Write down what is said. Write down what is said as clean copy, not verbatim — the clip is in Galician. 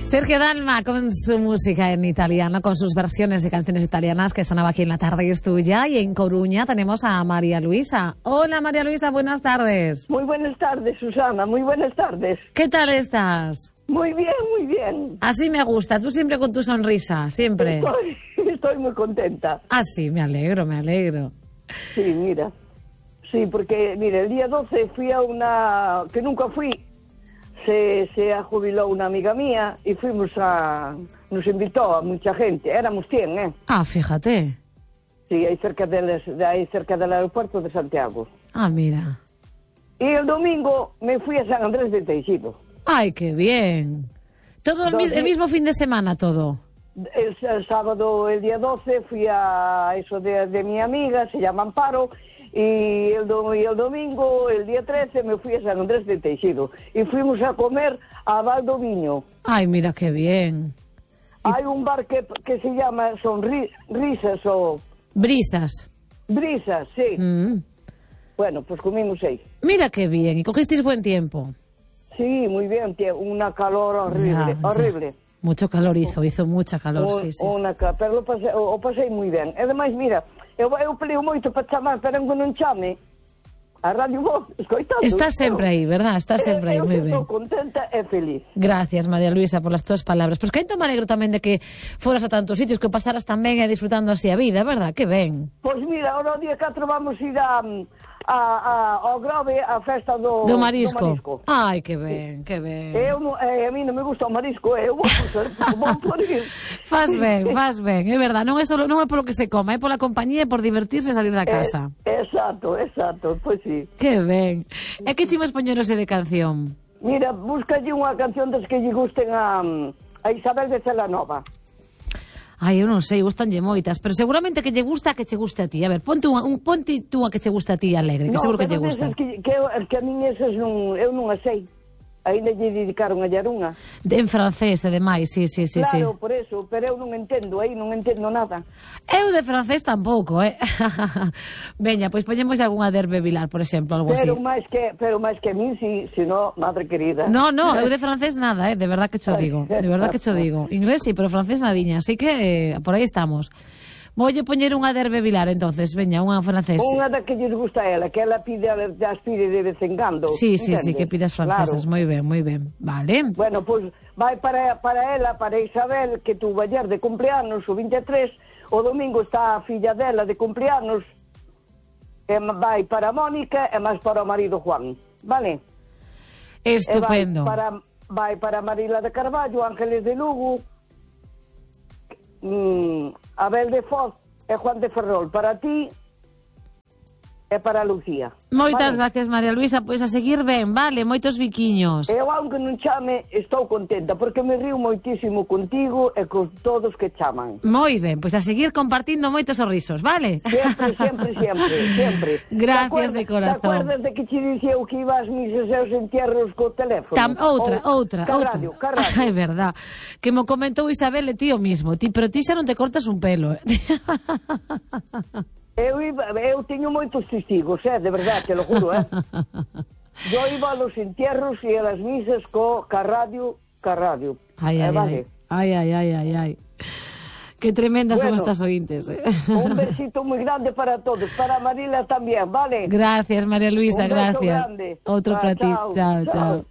Sergio Dalma con su música en italiano, con sus versiones de canciones italianas que sonaba aquí en La Tarde es Tuya. Y en Coruña tenemos a María Luisa. Hola María Luisa, buenas tardes. Muy buenas tardes, Susana, muy buenas tardes. ¿Qué tal estás? Muy bien, muy bien. Así me gusta, tú siempre con tu sonrisa, siempre. Estoy muy contenta. Ah, sí, me alegro, me alegro. Sí, mira. Sí, porque, mira, el día 12 fui a una... que nunca fui. Se jubiló una amiga mía y nos invitó a mucha gente, éramos 100, ¿eh? Ah, fíjate. Sí, ahí cerca del aeropuerto de Santiago. Ah, mira. Y el domingo me fui a San Andrés de Teixido. ¡Ay, qué bien! ¿Todo el mismo fin de semana, todo? El sábado, el día 12, fui a eso de mi amiga, se llama Amparo, y el domingo, el día 13, me fui a San Andrés de Teixido. Y fuimos a comer a Valdoviño. ¡Ay, mira qué bien! Hay un bar que se llama Risas o... Brisas. Brisas, sí. Bueno, pues comimos ahí. Mira qué bien, ¿y cogisteis buen tiempo? Sí, muy bien, una calor horrible, horrible. Mucho calor hizo mucha calor, sí. Pero o pasei moi ben. E ademais, mira, eu peleo moito para chamar, pero que non chame a Radio Voz, escoitando. Estás sempre aí, verdad? Estás sempre aí, moi ben. Eu estou contenta e feliz. Gracias, María Luisa, por las tuas palabras. Pois que me alegro tamén de que foras a tantos sitios, que pasaras tamén disfrutando así a vida, verdad? Que ben. Pois mira, ahora o día 4 vamos ir ao Grove a festa do marisco. Ai, que ben, que ben. A mí non me gusta o marisco, eu vou por ir. Faz ben, é verdad, non é polo que se coma, é pola compañía e por divertirse e salir da casa. Exacto, pois sí. Que ben. E que chimos poñerose de canción? Mira, búscalle unha canción das que lle gusten a Isabel de Celanova. Ai, eu non sei, gustanlle moitas, pero seguramente que lle gusta que che guste a ti. A ver, ponte tú a que che gusta a ti alegre, que seguro que lle gusta. Que a min esas eu non as sei. Ainda lle dedicaron a Yarunha. En francés, ademais, sí. Claro, por eso, pero eu non entendo nada. Eu de francés tampouco, Veña, pois poñemos algunha de Hervé Vilar, por exemplo, algo así. Pero máis que a min, si no, madre querida. No, eu de francés nada, de verdad que cho digo. Inglés sí, pero francés nadiña, así que por aí estamos. Voulle poñer unha de Hervé Vilar, entonces, veña, unha francés. Unha da que lles gusta a ela, que ela pide de vez en cando. Sí, que pidas francesas, moi ben, vale. Bueno, pois vai para ela, para Isabel, que tuvo ayer de cumpleanos, o 23, o domingo está a filla dela de cumpleanos, e vai para Mónica e máis para o marido Juan, vale? Estupendo. Vai para Marila de Carballo, Ángeles de Lugo, Abel de Foz e Juan de Ferrol, para ti e para Lucía. Moitas gracias, María Luisa, pois a seguir ben, vale, moitos biquiños. Eu, aunque non chame, estou contenta, porque me río moitísimo contigo e con todos que chaman. Moi ben, pois a seguir compartindo moitos sorrisos, vale? Sempre. Gracias de corazón. Te acuerdas de que te dixeu que ibas misas e os entierros co teléfono? Outra. É verdad, que mo comentou Isabel e ti o mismo, pero ti xa non te cortas un pelo, Eu teño moitos testigos, de verdade, te lo juro, Yo iba a los entierros e a las misas ca radio. Ai. Que tremendas son estas ointes. Un besito moi grande para todos, para Marila tamén, vale? Gracias, María Luisa, gracias. Grande. Outro para ti, chao.